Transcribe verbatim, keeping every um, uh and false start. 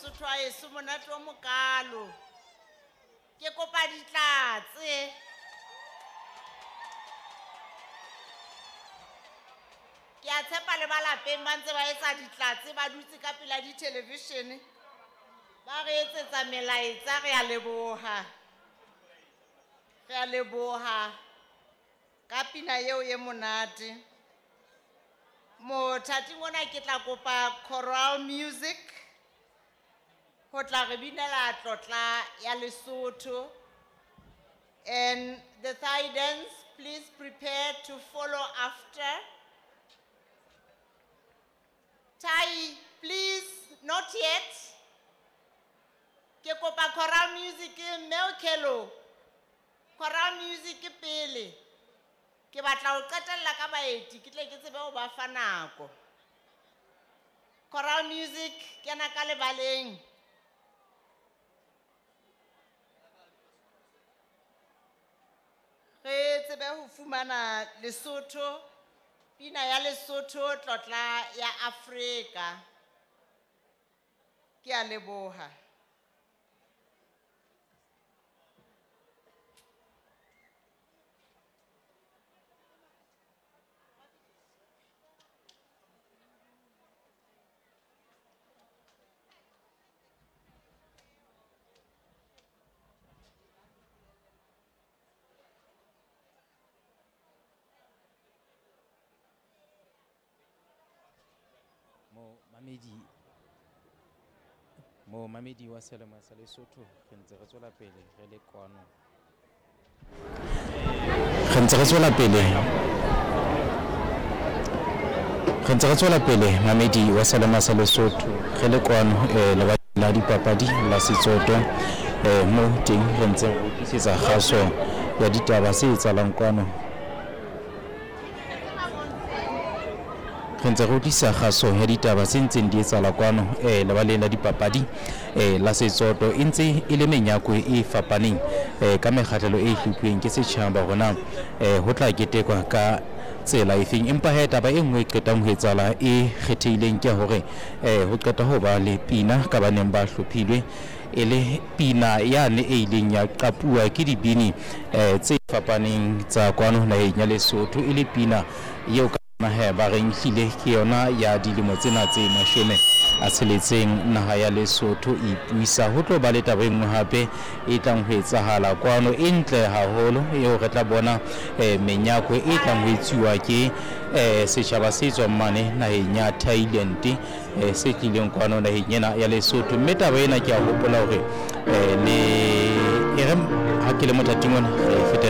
Mosotho wa heso, monate o mokalo. Ke kopa ditlatse. Ke a tshepa le ba lapeng ba ntse ba etsa ditlatse, ba dutse ka pela di-television. Ba re etsetsa melaetsa, re a leboha. Re a leboha ka pina eo e monate. Mothating ona ke tla kopa choral music ho tla re binela tlotla ya Lesotho. And the Thai dance, please prepare to follow after. Thai, please, not yet. Ke kopa choral music mme o Khelo. Choral music pele. Ke batla ho qetella ka baeti, ke tle ke tsebe ho ba fa nako. Choral music kena ka lebaleng. Re tsebe ho fumana Lesotho, pina ya Lesotho, tlotla ya Afrika. Ke a leboha. Mo mamedi, mo mamedi wa Selemo sa Lesotho, re ntse re tswela pele re le kwano. Re ntse re tswela pele. Re ntse re tswela pele mamedi wa Selemo sa Lesotho re le kwano, eh, lebaleng la dipapadi la Setsoto, eh, mo teng re ntse re utlwisisa kgaso ya ditaba se etsahalang kwano. Re ntse re utlwisisa kgaso ya ditaba tse ntseng di etsahala kwano, eh, lebaleng la dipapadi, eh, la Setsoto. E ntse e le menyako e fapaneng, eh, ka mekgahlelo e hlophuweng ke setjhaba hore na, eh, ho tla ketekwa ka tsela efeng. Empa he taba e nngwe e qetang ho etsahala e kgethehileng ke hore, eh, ho qeta ho ba le pina ka ba neng ba hlophilwe, e le pina yane e ileng ya qapuwa ke dibini, eh, tse fapaneng tsa kwano naheng ya Lesotho, e le pina eo ka he ba reng hlile ke yona ya dilemo tsena tse mashome a tsheletseng naha ya Lesotho e ipuisa. Ho tlo ba le taba e nngwe hape e tlang ho etsahala kwano e ntle haholo, eo re tla bona, eh, menyako e tlang ho etsuwa ke, eh, setjhaba se tswang mane naheng ya Thailand, eh, se tlileng kwano naheng ena ya Lesotho. Mme taba ena ke a hopola hore, eh, le e re ha ke le mothating ona re fetele